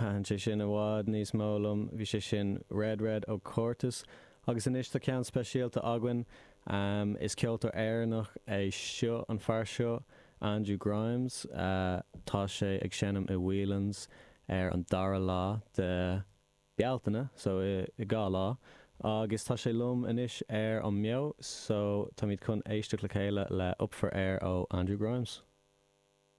Thaitin sé sin i bhfad níos mó liom. Bhí sé sin Red Red ó Cortis. Agus anois tá ceann speisialta againn. Is ceoltóir Éireannach é seo, an fear seo, Andrew Grimes. Tá sé ag seinm i Whelan's ar an dara lá de Bealtaine, so i 2 lá. Agus tá sé liom anois ar an mBeo, so táimid chun éisteacht le chéile le Up For Air ó Andrew Grimes.